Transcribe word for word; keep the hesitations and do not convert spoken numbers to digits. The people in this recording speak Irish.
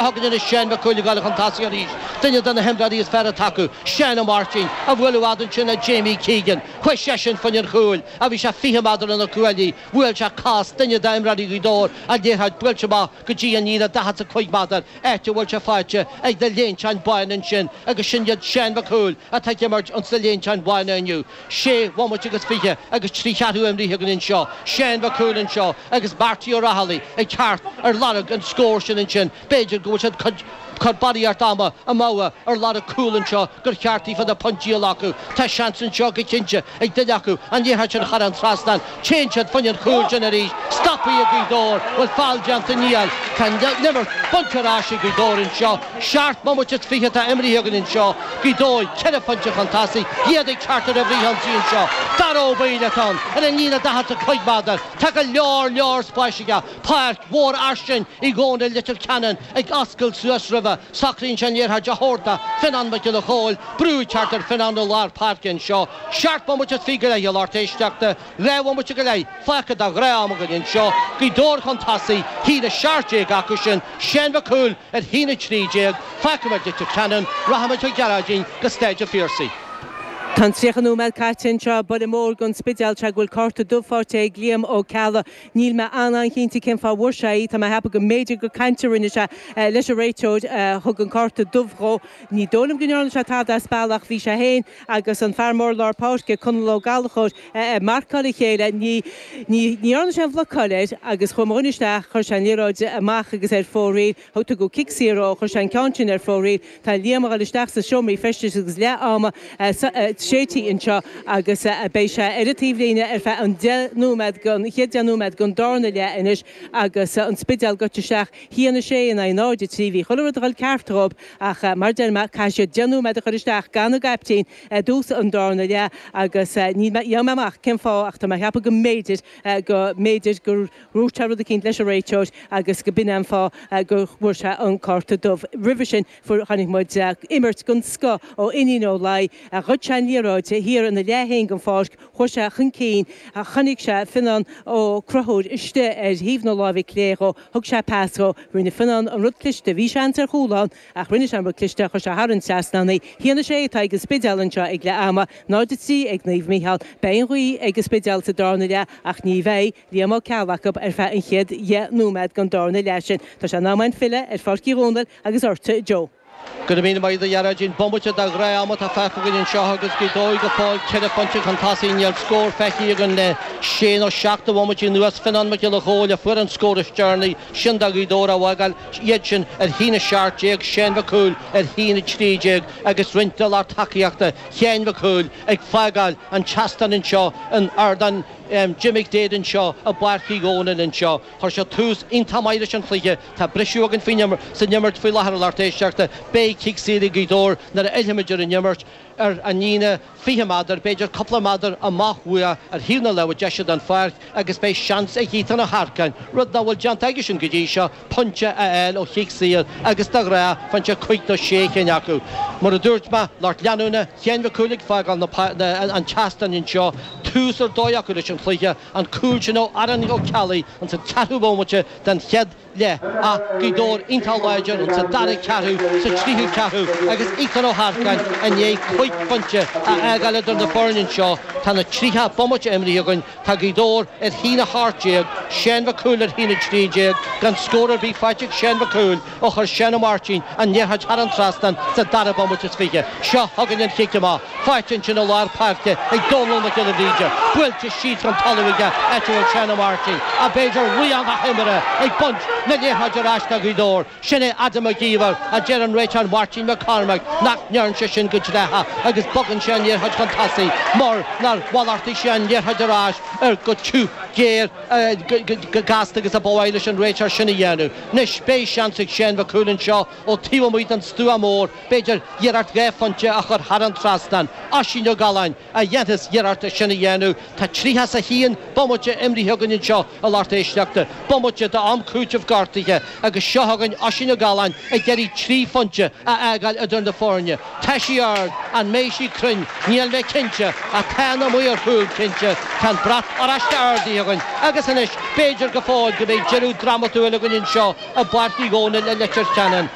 Chugainn anois Seán Mac Cumhaill ag dul chun tosaigh arís. Duine de na himreoirí is fearr atá acu, Seán Ó Máirtín, a bhuail i bhfad ansin le Jamie Keegan. Chuaigh seisean fá choinne an chúil a bhí sé fiche méadar óna cuaillí. Bhuail sé cos duine d'imreoirí Ghaoth Dobhair, an liathróid buailte amach go dtí an líne daichead is a cúig méadar, áit a bhfuil sé faighte ag na léinteáin bhána ansin agus sin iad Seán Mac Cumhaill atá ag imirt ins na léinteáin bhána inniu. Sé bhomaite agus fiche agus trí cheathrú imrithe againn anseo. Seán Mac Cumhaill anseo agus Marty Ó Raghallaigh ag teacht ar lorg an scór sin ansin. B'fhéidir go bhfuil siad ag cur barraíocht ama amú ar lorg cúl anseo gur cheart daofa na pointí a ghlacadh. Tá seans anseo go cinnte ag duine acu an liathróid sin a chur an trasnán. Téann siad fá choinne an chúil sin arís. Stoptha ag Gaoth Dobhair. Bhfuil feall déanta? Níl. Tá an imirt bainte ar ais ag Gaoth Dobhair anseo. Seacht mbomaite is fiche atá imrithe againn anseo. Gaoth Dobhair ceithre phointe chun tosaigh. Iad ag teacht ar an bhfrithionsaí anseo. Dara Ó Baoill atá ann ar an líne daichead is a cúig méadar. Tá go leor leor spáis aige. Páirc mhór fhairsing i gcónaí Leitir Ceanainn ag oscailt suas roimhe. Socraíonn sé an liathróid a thabhairt do Fionán Mac Giolla Chóill. Brú ag teacht ar Fionán i lár páirce anseo. Seacht mbomaite is fiche go leith a lucht éisteachta. Dhá bhomaite go leith fágtha de ghnáth-am againn anseo. Gaoth Dobhair chun tosaigh, a haon a seacht déag acu sin. Seán Mac Cumhaill ar a haon a trí déag. Fágfaimid Leitir Ceanainn, rachaimid chuig Gearóidín go Staid an Phiarsaigh. Tá an tríocha nóiméad caite anseo, buille mór don Spidéal sé go bhfuil cárta dubh faighte ag Liam Ó Ceallaigh. Níl mé an-an-chinnte cén fáth a bhfuair sé í. Tá mé ag ceapadh go mb'fhéidir gur caint a rinne sé leis an réiteoir a thug an cárta dubh dhó. Ní dóigh liom go ndearna sé tada as bealach, bhí sé féin agus an fear mór lár páirce, Conall Ó Gallchóir, ag marcáil a chéile. Ní ní dhearna sé an bhlocáil air agus chuaigh mo dhuine isteach, chuir sé an liathróid amach agus ar fóraoil. Thug tugadh cic saor dhó, chuir sé an ceann sin ar fóraoil. Tá Liam ag dul isteach sa seomra feistis agus leath ama séidte anseo agus beidh sé ar an taobhlíne ar feadh an deich nóiméad den chéad deich nóiméad den darna leath anois agus an Spidéal gaibhte isteach a haon a sé in aghaidh náid a trí. Bhí chuile rud ag dul ceart dhóibh ach mar deir mé caithfidh siad deich nóiméad a chur isteach gan a gcaiptín i dtús an darna leath agus ní gheobhaidh mé amach cén fáth ach tá mé ag ceapadh go mb'fhéidir go mb'fhéidir gur dhúirt sé rud eicínt leis an réiteoir agus go b'in an fáth go bhfuair sé an cárta dubh. Roimhe sin fuair chonaic muid imirt den scoth ó Fhinian Ó Laoi a ghoid sé an liathróid thiar ina leath féin den pháirc, chuaigh sé chun cinn, chonaic sé Fionnán Ó Conchúir istigh ar thaobh na láimhe clé dhó, thug sé pas dhó, rinne Fionnán an rud cliste, bhí seans ar chúl ann ach rinne sé an rud cliste, chuir sé thar an trasnán í. A haon a sé atá ag an Spidéal anseo ag leath ama, náid a trí ag Naomh Mícheál. Beidh an ghaoth ag an Spidéal sa darna leath ach ní bheidh Liam Ó Ceallaigh acu ar feadh an chéad dheich nóiméad den darna leath sin. Tá sé in am againn filleadh ar Pháirc Uí Dhónaill agus ortsa Joe. Go raibh míle maith agat a Ghearóidín. Bomaite de ghnáth-am atá fágtha againn anseo agus Gaoth Dobhair go fóill ceithre phointe chun tosaigh. Níl scór feicthe againn le sé nó seacht de bhomaití anuas. Fionnán Mac Giolla Chóill a fuair an scór is deireanaí, sin do Ghaoth Dobhair a fhágáil iad sin ar a haon a seacht déag, Seán Mac Cumhaill ar a haon a trí déag agus roinnt de lucht tacaíochta Sheáin Mhic Cumhaill ag fágáil an tseastáin anseo in Ardán Jim McDaid anseo i bPáirc Uí Dhónaill anseo. Chuir sé tús iontach maith leis an chluiche. Tá briseadh againn faoin san imirt faoi láthair a lucht éisteachta. Beidh cic saor ag Gaoth Dobhair nuair a fhillfimid ar an imirt ar an líne fiche méadar, b'fhéidir cúpla méadar amach uathu ar thaobh na láimhe deise den pháirc agus beidh seans ag Ethan Ó hEarcáin, rud nach bhfuil déanta aigesean go dtí seo, pointe a fháil ó chic saor agus de ghnáth faigheann sé cúig nó sé chinn acu. Mar a dúirt mé, lucht leanúna Sheáin Mhic Cumhaill ag fágáil an tseastáin anseo, tús ar dóigh acu leis an chluiche, an cúl sin ó Aaron Ó Ceallaigh ins an ceathrú bomaite den chéad leath ach Gaoth Dobhair iontach láidir ins an dara ceathrú, sa tríú ceathrú agus Ethan Ó hEarcáin i ndiaidh cúig phointe a fhágáil idir na foirne anseo. Tá na tríocha bomaite imrithe againn. Tá Gaoth Dobhair ar a haon a hocht déag, Seán Mac Cumhaill ar a haon a trí déag, gan scór ar bith faighte ag Seán Mac Cumhaill ó chuir Seán Ó Máirtín an liathróid thar an trasnán sa dara bomaite is fiche. Seo chugainn an chic amach. Faighte ansin i lár páirce ag Dónal Mac Giolla Bhríde. Buailte síos chun talaimh aige áit a bhfuil Seán Ó Máirtín. Ach b'fhéidir laoch na himeartha ag baint na liathróide ar ais do Ghaoth Dobhair. Sin é Adam Mac Íomhair, a deir an réiteoir Máirtín McCormack nach ndearna sé sin go dleathach agus bogann sé an liathróid chun tosaigh mar nár mhalartaigh sé an liathróid ar ais ar go tiubh géar go gasta agus a ba mhaith leis an réiteoir sin a dhéanamh. Anois beidh seans ag Seán Mac Cumhaill anseo ó taobh amuigh den stua mór, b'fhéidir iarracht dhá phointe a chur thar an trasnán. Oisín Ó Galláin a dhéanfas iarracht é sin a dhéanamh. Tá tríocha is a haon bomaite imrithe againn anseo a lucht éisteachta, bomaite d'am cúitimh gortaithe agus seo chugainn Oisín Ó Galláin ag iarraidh trí phointe a fhágáil idir na foirne. Tá sí ard, an mbeidh sí cruinn? Níl mé cinnte, ach tá na maoir chúil cinnte. Tá an brat oráiste ardaithe. feicthe againn agus anois b'fhéidir go fóill go mbeidh deireadh drámatúil againn anseo i bPáirc Uí Dhónaill i Leitir Ceanainn.